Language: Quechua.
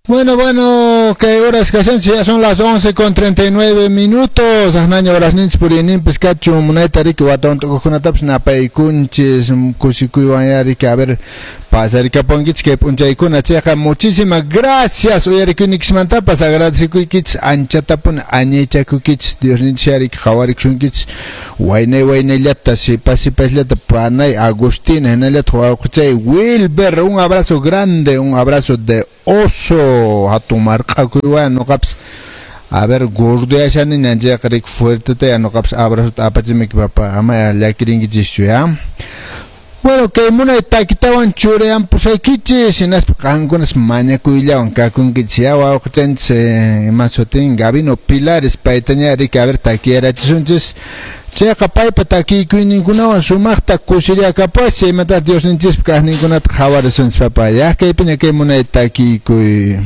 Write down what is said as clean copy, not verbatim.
Bueno, bueno, kay horas kashanchis, ya son las 11 con 39 minutos. Aqnaña horasninchis puriyninpis kachun, munayta riki watawan tukuqkunatapas napaykunchis, kusikuywan ya riki, a ver, pasarikapunkichis kay p'unchaykuna chayqa. Muchísimas gracias uyarikuynikismantapas, agradecekuykichis anchatapuni, añaychakuykichis. Diosninchis ya riki qhawarikusunkichis waynay waynayllata, sipas sipasllata, panay Agustina, hinallataq wawqichay Wilber, un abrazo grande, un abrazo de oso, hatun marq'akuywan nuqapas. A ver, gordoyashaniña chayqa riki fuerteta ya nuqapas abrazota apachimiki, papá, ama llakirinkichishchu ya. Bueno, kay munay takitawan churayampusaykichis, hinaspa qankunas mañakuyllawan kakunkichis ya. Wawqichanchis ima sutin, Gabino Pilares, paytaña riki a ver takiyarachisunchis. Chayqa paypa takiykuyninkunawan sumaqta kusiriakapuas, chaymanta Diosninchispa kaqninkunata qhawarisunchis, papá. Ya kaypiña kay munay takiykuy.